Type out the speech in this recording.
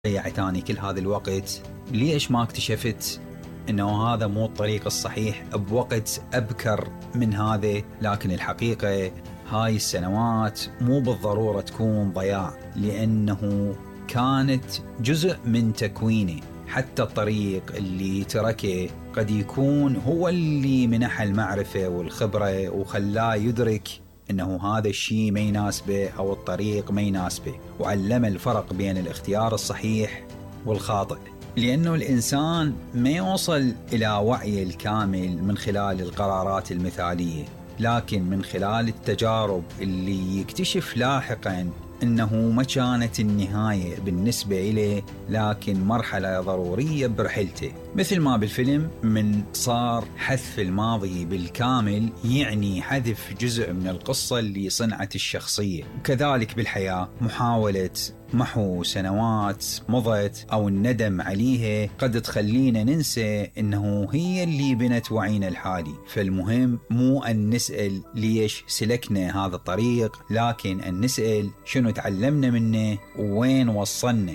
ضيعت اني كل هذا الوقت؟ ليش ما اكتشفت انه هذا مو الطريق الصحيح بوقت ابكر من هذا؟ لكن الحقيقة هاي السنوات مو بالضرورة تكون ضياع، لانه كانت جزء من تكويني. حتى الطريق اللي تركه قد يكون هو اللي منح المعرفة والخبرة وخلاه يدرك انه هذا الشيء ما يناسبه او الطريق ما يناسبه، وعلم الفرق بين الاختيار الصحيح والخاطئ. لانه الانسان ما يوصل الى وعي الكامل من خلال القرارات المثالية، لكن من خلال التجارب اللي يكتشف لاحقا انه ما كانت النهاية بالنسبة إليه، لكن مرحلة ضرورية برحلته. مثل ما بالفيلم من صار حذف الماضي بالكامل يعني حذف جزء من القصة اللي صنعت الشخصية. وكذلك بالحياة محاولة محو سنوات مضت أو الندم عليها قد تخلينا ننسى إنه هي اللي بنت وعينا الحالي. فالمهم مو أن نسأل ليش سلكنا هذا الطريق، لكن أن نسأل شنو تعلمنا منه ووين وصلنا.